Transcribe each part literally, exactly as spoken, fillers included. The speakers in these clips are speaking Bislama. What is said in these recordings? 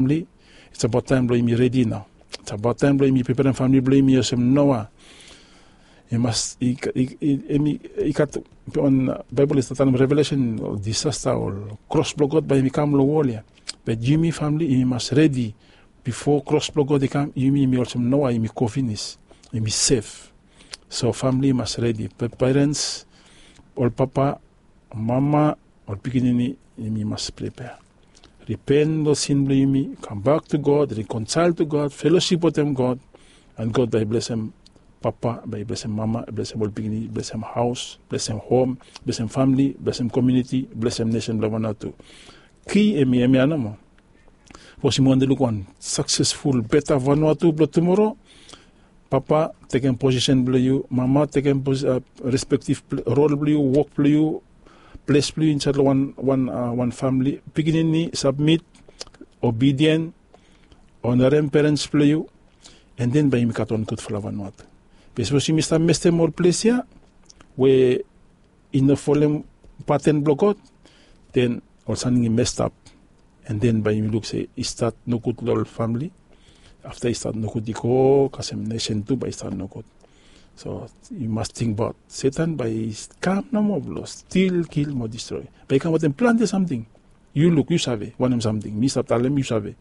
Famili, it's about taem blong yumi redi nao. It's about taem blong yumi preperem famili blong yumi olsem Noa. I mas i gat wan Baebol i stap talem Revelesen, ol disasta, ol kros blong God bae yumi kam long wol ya. Be yumi famili yumi mas redi. Bifo kros blong God i kam, yumi yumi olsem Noa, yumi go finis, yumi sef. So famili i mas redi. Perens, ol papa, mama, ol pikinini, yumi mas pripea. Ripen long sin blong yumi, kambak tu God, rikonsel tu God, felosip wetem God. An God bae i blesem papa, bae i blesem mama, blesem ol pikinini, blesem haos, blesem hom, blesem famili, blesem komuniti, blesem nesen blong Vanuatu. Ki hemi hemia nomo. Sapos yumi wantem luk wan saksesful beta Vanuatu blong tumoro, papa, tekem posisen blong yu. Mama, tekem respektif rol blong yu, wok blong yu, ples blong yu insaed long wan famili. Pikinini, sabmit, obidien, onarem perens blong yu. An den bae yumi gat wan gudfala Vanuatu. Be sapos yumi stap mestem ol ples ya we i no folem paten blong God, den ol samting i mestap. An den bae yumi luk se i stat nogud long ol famili. Afta i stat nogud, i go kasem nesen tu bae i stat nogud. So yu mas tingbaot Setan bae i kam nomo blong stil, kil mo distroe. Bae i kam wetem plante samting. Yu luk, yu save wanem samting mi stap talem, yu save.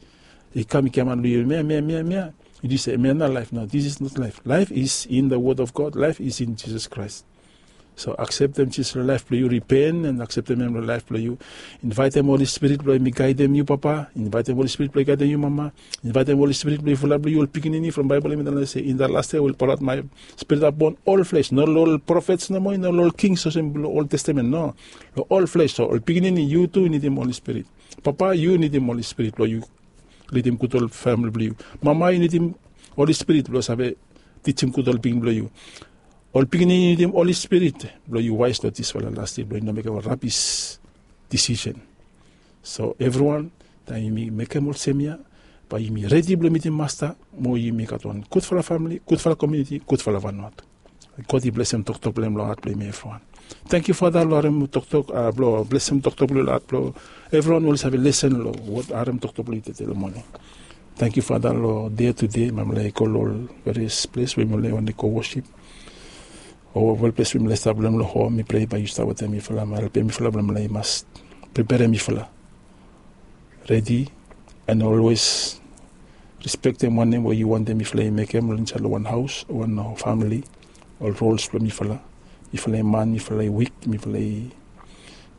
I kam i giaman long yu, mia mia mia mia. Yu tis se mia na laef. No, this is not life. Life is in the word of God. Life is in Jesus Christ. So akseptem Jisas long laef blong yu, ripen an akseptem hem long laef blong yu. Invaetem Holi Spirit blong hem i gaedem yu papa. Invaetem Holi Spirit blong i gaedem yu mama. Invaetem Holi Spirit blong i fulap long yu ol pikinini. From Baebol hem i talem se in the last day I will pour out my Spirit upon all flesh. No long ol profets nomo, no long ol kings olsem blong Old Testament, no. Long ol flesh. So ol pikinini, yu tu yu nidim Holi Spirit. Papa, yu nidim Holi Spirit blong yu lidim gud ol famili blong yu. Mama, yu nidim Holi Spirit blong save tijim gud ol pikinini blong yu. Ol pikinini, yu nidim Holi Spirit blong yu waes long disfala las dei blong yu no mekem ol rabis disisen. So evriwan, taem yumi mekem olsem ya, bae yumi redi blong mitim Masta mo yumi gat wan gudfala famili, gudfala komuniti, gudfala Vanuatu. God i blesem toktok blong hem long hat blong yumi evriwan. Tangkiu Fada long harem toktok, blong blesem toktok blong yu long hat blong evriwan we oli save lesen long wod, harem toktok blong yu tede long moning. Tangkiu Fada long dei tede, mifala i go long ol various ples we mifala i wantem go wosip. O ol ples we mifala i stap long hem long hom, mi prea bae yu stap wetem mifala mo helpem mifala blong mifala i mas preperem mifala redi, an olwes respektem wanem we yu wantem mifala i mekem long insaed long wan haos, wan famili. Ol rols blong mifala, mifala i man, mifala i wik, mifala i,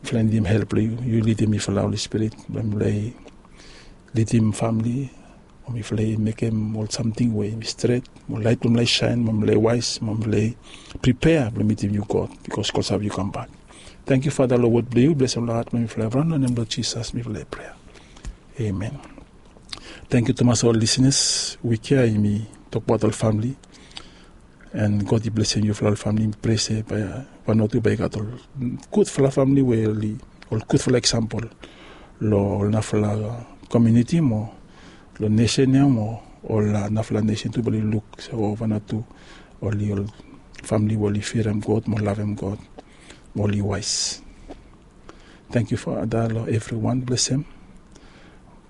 mifala i nidim help blong yu. Yu lidim mifala, Holi Spirit, blong mifala i lidim famili, mo mifala i mekem ol samting we hemi stret, mo laet blong mifala i saen, mo mifala i waes, mo mifala i pripea blong mitim yu God, bikos God save yu kambak. Tangkiu Fada long wod blong yu, blesem long hat blong mifala evriwan, long nem blong Jisas mifala i prea. Amen. Tangkiu tumas ol lisenas. Wik ya yumi tokbaot ol famili. An God i blesem yufala ol famili. Mi prea se bae Vanuatu bae i gat ol gudfala famili we oli ol gudfala eksampol long ol narafala komuniti mo long nesen ya mo ol narafala nesen tu bae oli luk se o Vanuatu oli ol famili we oli firem God mo lavem God mo oli waes. Tangkiu Fada long evriwan, blesem.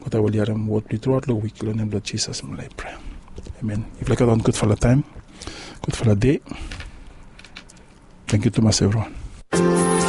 God bae oli harem wod blong yu truaot long wik, long nem blong Jisas mifala i prea. Amen. Yufala i gat wan gudfala taem, gudfala dei. Tangkiu tumas evriwan.